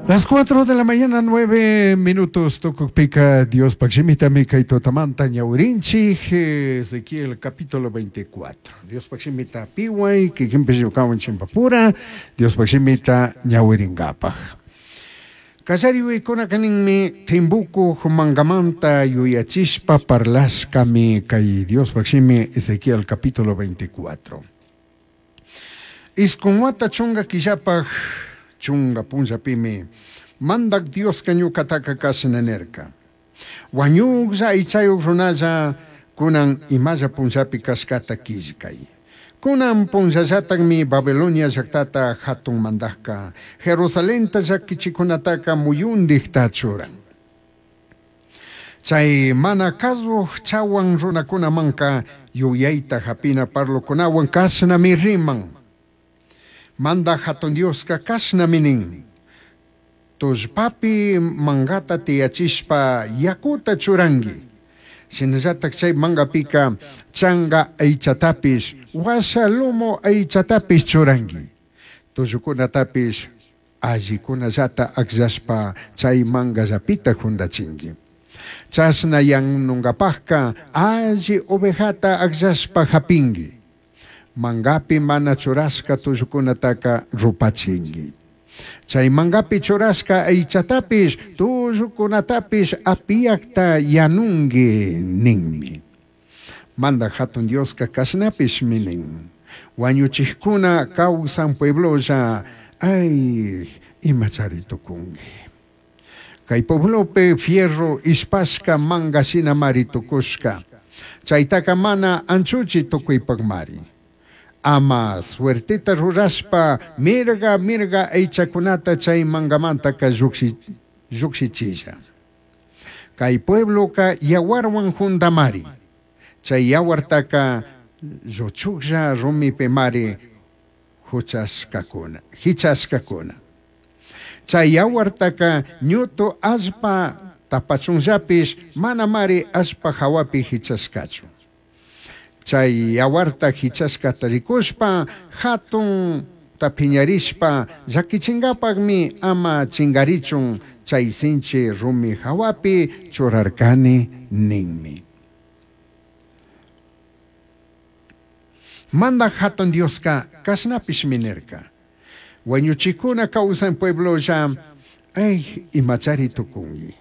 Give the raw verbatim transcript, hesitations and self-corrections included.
Las cuatro de la mañana, nueve minutos, tucujpica Diospaj shimita kay tutamanta ñawirinchij, Ezequiel capítulo veinticuatro. Diospaj shimita pihuay, kikinpish ñukawan chimpapura, Diospaj shimita ñawiringapaj. Kallariwaykunaka ninmi Timbuku mangamanta yuyachishpa parlashkami kay Diospaj shimi Ezequiel capítulo veinticuatro. Isqun wata chunga killapaj chunga punllapimi mandak Dioska ñukataka kashna nirka. Wañuklla aychayuq runalla kunan imalla punllapi kashkata killkay. Kunan punllallatakmi Babilonia llaqtata hatun mandajka Jerusalenta llakichikunataka muyundikta churan. Chay mana kasuq chawan runakunamanka yuyayta hapina parlokunawan kashnami riman. Manda hatun Dioska kashnami nin. Tullpapi mangata tiyachishpa yakuta churanki. Shinallatak chay mangapika changa aychatapish, washa lumo aychatapish churanki. Tullukunatapish allikunallata akllashpa chay mangallapita jundachinki. Chashna yanungapajka alli ovejata akllashpa hapinki. Mangapi mana churashka tullukunataka rupachinki. Chay mangapi churashka aychatapish, tullukunatapish apiyakta yanunki ninmi. Manda hatun Dioska kashnapishmi nin. Wañuchijkuna kawsan pueblolla, ay, imachari tukunki. Kay pueblopi fierro ispashka manga shinamari tukushka. Chaytaka mana anchuchi tukuypakmari. Ama suerteta rurashpa mirga mirga aychakunata chay mangamantaka llukshichilla. Kay puebloka yawarwan jundamari. Chay yawartaka lluchuklla rumipimari huchashkakuna, hichashkakuna. Chay yawartaka ñutu allpa tapachunllapish manamari allpa hawapi hichashkachu. Chay yawarta hichashkata rikushpa hatun tapiñarishpa llakichinkapakmi ama chingarichun chay sinchi rumi hawapi churarkani ninmi. Manda hatun Dioska kashnapishmi nirka. Wañuchikuna kawsan pueblolla, ay, imachari tukunki.